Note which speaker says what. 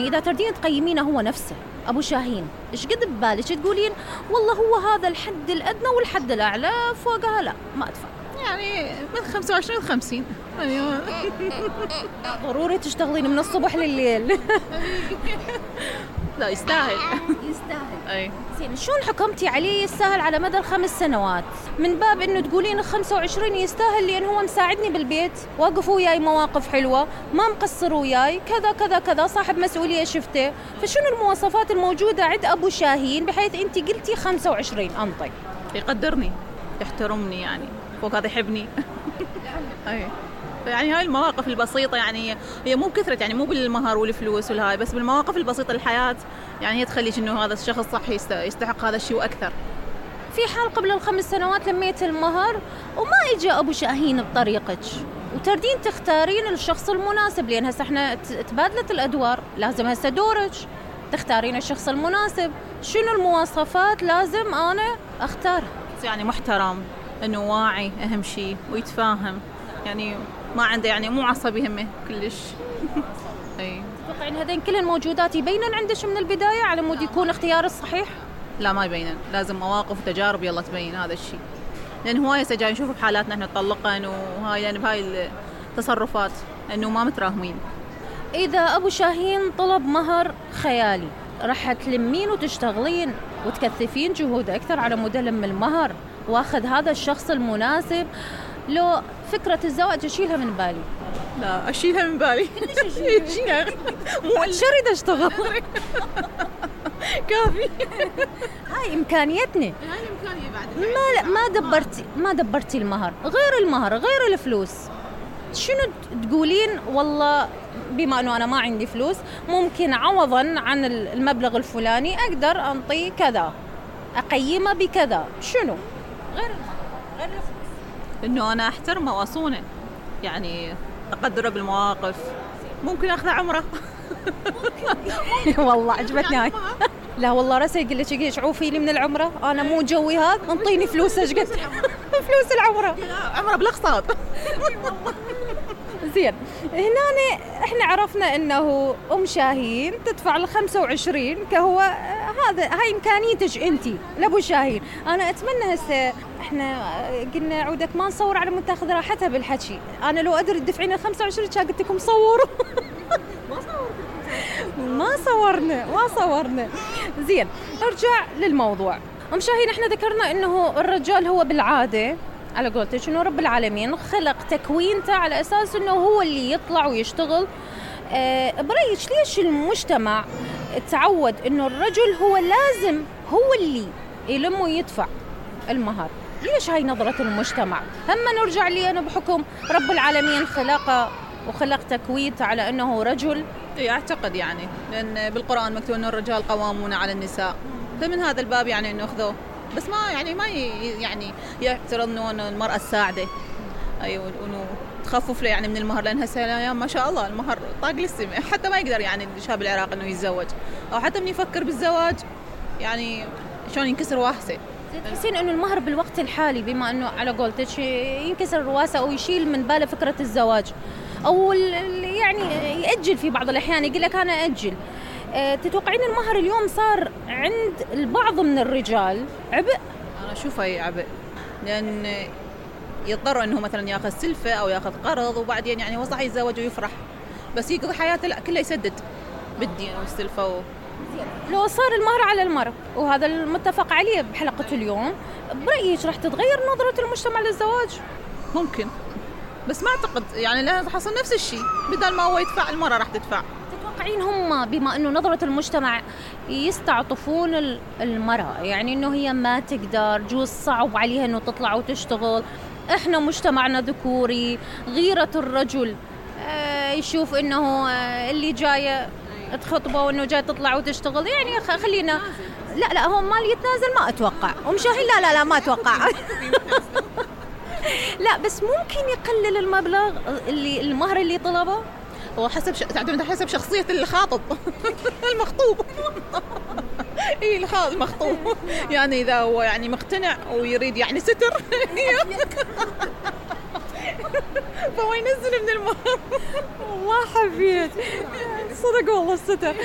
Speaker 1: يعني إذا تردين تقيمينه هو نفسه أبو شاهين، إيش قد ببالك تقولين والله هو هذا الحد الأدنى والحد الأعلى، فوقها لا ما أدفع؟
Speaker 2: يعني من 25 ل 50. أيوة.
Speaker 1: ضروري تشتغلين من الصبح لليل.
Speaker 2: لا يستاهل.
Speaker 1: يستاهل.
Speaker 2: أي.
Speaker 1: زين شلون حكمتي عليه يستاهل على مدى ال5 سنوات؟ من باب إنه تقولين 25 يستاهل لأن هو مساعدني بالبيت، واقف وياي مواقف حلوة، ما مقصر وياي، كذا كذا كذا، صاحب مسؤولية شفته، فشنو المواصفات الموجودة عند أبو شاهين بحيث أنت قلتي 25 أنطي؟
Speaker 2: يقدرني، يحترمني، يعني فوق هذا يحبني. أي. يعني هاي المواقف البسيطة، يعني هي مو بكثرة، يعني مو بالمهر والفلوس والهاي، بس بالمواقف البسيطة للحياة، يعني هي تخليش إنه هذا الشخص صح يستحق هذا الشيء وأكثر.
Speaker 1: في حال قبل ال5 سنوات لميت المهر وما إجا أبو شاهين بطريقك، وتردين تختارين الشخص المناسب، لأن هسه احنا تبادلت الأدوار، لازم هسه دورك تختارين الشخص المناسب، شنو المواصفات لازم أنا أختار؟
Speaker 2: يعني محترم، إنه واعي أهم شيء، ويتفاهم، يعني ما عنده، يعني مو عصبي همه كلش. أي.
Speaker 1: تتوقعين هذين كلهن موجودات يبينن عندك من البداية على مود يكون اختيار الصحيح؟
Speaker 2: لا ما يبينن، لازم مواقف وتجارب يلا تبين هذا الشيء، لأن هواية جاي نشوف بحالاتنا احنا طلقن وهاي، يعني بهاي التصرفات إنه ما متراهمين.
Speaker 1: إذا أبو شاهين طلب مهر خيالي راح تلمين وتشتغلين وتكثفين جهود أكثر على مود لم المهر واخذ هذا الشخص المناسب، لو فكرة الزواج أشيلها من بالي؟
Speaker 2: لا أشيلها من بالي. أشيلها.
Speaker 1: مو شريد أشتغل.
Speaker 2: كافي.
Speaker 1: هاي إمكانيتنا.
Speaker 2: هاي إمكانية بعد.
Speaker 1: ما دبرتي المهر، غير المهر غير الفلوس، شنو تقولين والله بما أنه أنا ما عندي فلوس ممكن عوضاً عن المبلغ الفلاني أقدر أنطي كذا، أقيمه بكذا، شنو غير المهر غير الفلوس؟
Speaker 2: إنه أنا أحترمه وأصونه، يعني أقدره بالمواقف، ممكن أخذ عمره.
Speaker 1: والله عجبتني هاي. لا والله راسي يقول لك ايش عوفي لي من العمره، انا مو جوي هذا، انطيني فلوس ايش قد. فلوس العمره،
Speaker 2: عمره بالاقساط.
Speaker 1: زين هنا احنا عرفنا انه ام شاهين تدفع ال25 كهو هاي امكانيتك انت لابو شاهين. انا اتمنى هسه احنا قلنا عودك ما نصور على مود تاخذ راحتها بالحكي، انا لو ادري تدفعين ال25 كان قلت لكم صوروا. ما صورنا. زين ارجع للموضوع. ام شاهين احنا ذكرنا انه الرجال هو بالعاده على قولتك انه رب العالمين خلق تكوينته على اساس انه هو اللي يطلع ويشتغل. برأيك ليش المجتمع تعود انه الرجل هو لازم هو اللي يلم ويدفع المهر؟ ليش هاي نظرة المجتمع؟ هم نرجع لي انا بحكم رب العالمين خلقه وخلق تكوينته على انه رجل.
Speaker 2: أعتقد يعني لأن بالقرآن مكتوب أنه الرجال قوامون على النساء، فمن هذا الباب يعني أنه أخذوه، بس ما يعني يعني يعترض أنه المرأة الساعدة، أيوة، وأنه تخفف له يعني من المهر، لأن هسه الأيام ما شاء الله المهر طاق للسماء، حتى ما يقدر يعني الشاب العراقي أنه يتزوج، أو حتى من يفكر بالزواج يعني شلون ينكسر واسه.
Speaker 1: تحسين انه المهر بالوقت الحالي بما انه على قولتك ينكسر رواسه او يشيل من باله فكره الزواج، او يعني يأجل في بعض الاحيان، يقول لك انا أجل، تتوقعين المهر اليوم صار عند البعض من الرجال عبء؟
Speaker 2: انا اشوفه عبء، لان يضطر انه مثلا ياخذ سلفه او ياخذ قرض، وبعدين يعني هو صح يتزوج ويفرح، بس يقضي حياته لا كله يسدد بالدين والسلفه
Speaker 1: لو صار المهر على المرأة وهذا المتفق عليه بحلقة اليوم، برأيك راح تتغير نظرة المجتمع للزواج؟
Speaker 2: ممكن، بس ما أعتقد يعني لا حصل نفس الشيء، بدل ما هو يدفع المرأة راح تدفع.
Speaker 1: تتوقعين هم بما أنه نظرة المجتمع يستعطفون المرأة، يعني أنه هي ما تقدر، جوز صعب عليها أنه تطلع وتشتغل، إحنا مجتمعنا ذكوري، غيرة الرجل يشوف أنه اللي جاية تخطبه وانه جاي تطلع وتشتغل، يعني خلينا لا هو مال يتنازل ما اتوقع، ومشاهين لا ما اتوقع. لا بس ممكن يقلل المبلغ اللي المهر اللي طلبه،
Speaker 2: هو تعتمد حسب شخصية الخاطب. المخطوب. المخطوب يعني اذا هو يعني مقتنع ويريد يعني ستر فهو ينزل من المهر.
Speaker 1: والله حبيت صدق والله الستر.